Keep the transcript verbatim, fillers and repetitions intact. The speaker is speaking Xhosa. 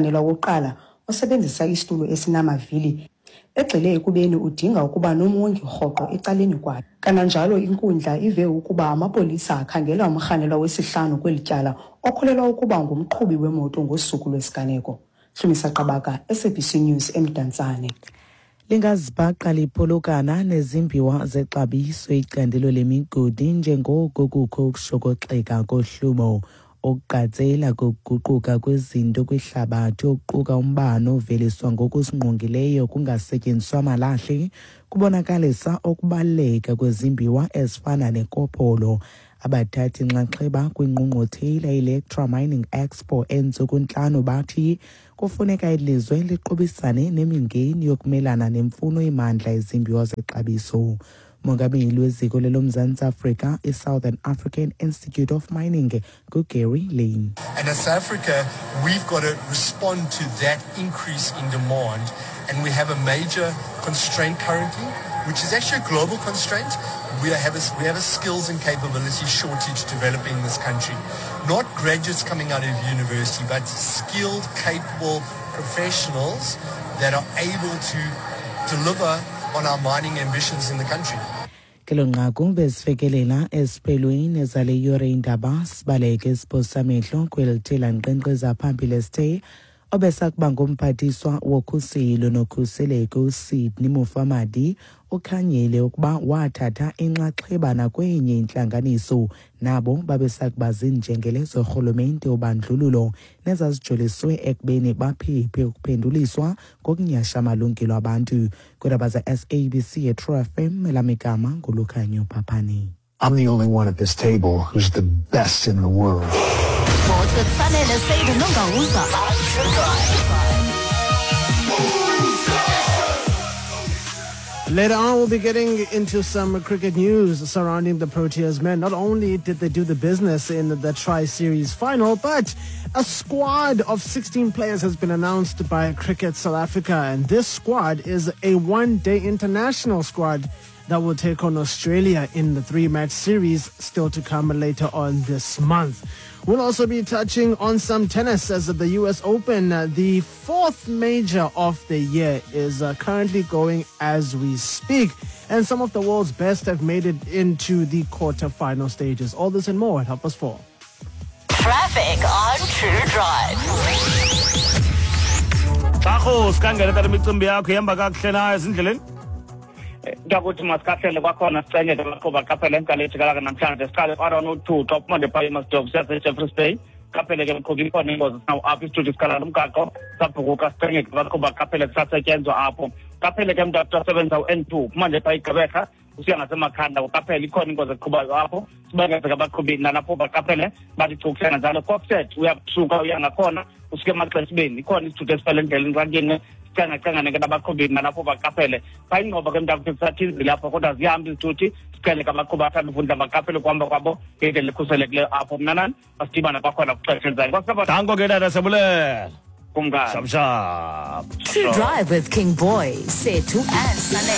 Wokuqala osebenzisa isitulo esinamavili, egxile ekubeni udinga ukuba nomongi rhoqo ecaleni kwakhe. Kananjalo inkundla ive ukuba amapolisa akhangela umrhanelwa wesihlanu kweli tyala okholelwa ukuba ngumqhubi wemoto ngosuku lwesiganeko. Hlumisa Qabaka, S A B C News, eMdantsane. Lingazibhaqa liphulukana nezimbiwa zexabiso icandelo lemigodi njengoko kukho ukushokoxeka kohlumo. Ukuqatsela kokuguquka kwezinto kwihlabathi, okuquka umbane oveliswa ngokusingqongileyo kungasetyenziswa malahle, kubonakalisa ukubaluleka kwezimbiwa ezifana nekopolo. Abathathi nxaxheba kwingqungquthela i-Electra Mining Expo entsuku ntlanu bathi kufuneka ilizwe liqubisane nemingeni yokumelana nemfuno emandla yezimbiwa zexabiso. Umongameli weziko leloMzantsi Afrika, i-Southern African Institute of Mining, nguGary Lane. And as South Africa, we've got to respond to that increase in demand. And we have a major constraint currently, which is actually a global constraint. We have a, we have a skills and capability shortage developing in this country. Not graduates coming out of university, but skilled, capable professionals that are able to deliver on our mining ambitions in the country. Kelo nqaku bezifikelela esiphelweni zale yure indaba. Sibaleke siphosa amehlo kweli lankqenkqeza phambili esithe obesakuba ngumphathiswa wokhuselo nokhuseleko uSydney Mufamadi ukhanyile ukuba wathatha inxaxheba nakwenye intlanganiso nabo babesakuba zinjengele zorhulumente wobandlululo nezazijoliswe ekubeni baphephe ukuphenduliswa ngokunyasha amalungelo abantu. Kwiindaba ze-S A B C eTru F M, elamigama nguLukhanyo Phaphani. I'm the only one at this table who's the best in the world. Sports with Sanele Seide Nongawuza. Later on, we'll be getting into some cricket news surrounding the Proteas men. Not only did they do the business in the Tri-Series final, but a squad of sixteen players has been announced by Cricket South Africa. And this squad is a one-day international squad that will take on Australia in the three-match series still to come later on this month. We'll also be touching on some tennis as the U S Open, uh, the fourth major of the year, is uh, currently going as we speak. And some of the world's best have made it into the quarterfinal stages. All this and more at half past four. Traffic on True Drive. Xarhu, sikhangele tata, imicimbi yakho ihamba kakuhle na ezindleleni? Ntakuthi masikahlele kwakhona, sicenge ke baqhuba qaphele enkalo ejikalaka namhlanje. Siqale R one oh two xa uphuma phaa eMastop siyase-Jeffreys Bay. Qaphele ke mqhubi, ikhona ingozi sinawo apho, isithuthi sikhala lo mgaqo sabhukuka. Sicenge ke baqhuba qaphele, kusasetyenzwa apho. Qaphele ke mntu asebenza u-N two phuma nje phaa iGqeberha usiya ngaseMakhanda, uqaphele ikhona ingozi eqhubayo apho. Sibengeze ke abaqhubi nalapho baqaphele, bathi chukusena njalo. Kokstad uyasuka uya ngakhona usuke emaxesibeni, ikhona isithuthi esifele endleleni rakini. Sicengacengane ke nabaqhubi nalapho baqaphele. Phaa ingqoba ke mntakuthi kusathinzile apho, kodwa ziyahamba izithuthi. Sicele ke abaqhubi athanda ufunda baqaphele ukuhamba kwabo ngendlela ekhuselekileyo apho. Mna nani masidibane kwakhona kwixesha elizayo. Danko ke tata, siyabulela. Kumkani. Shap shap. True Drive with King Boy, Sethu and Sanele.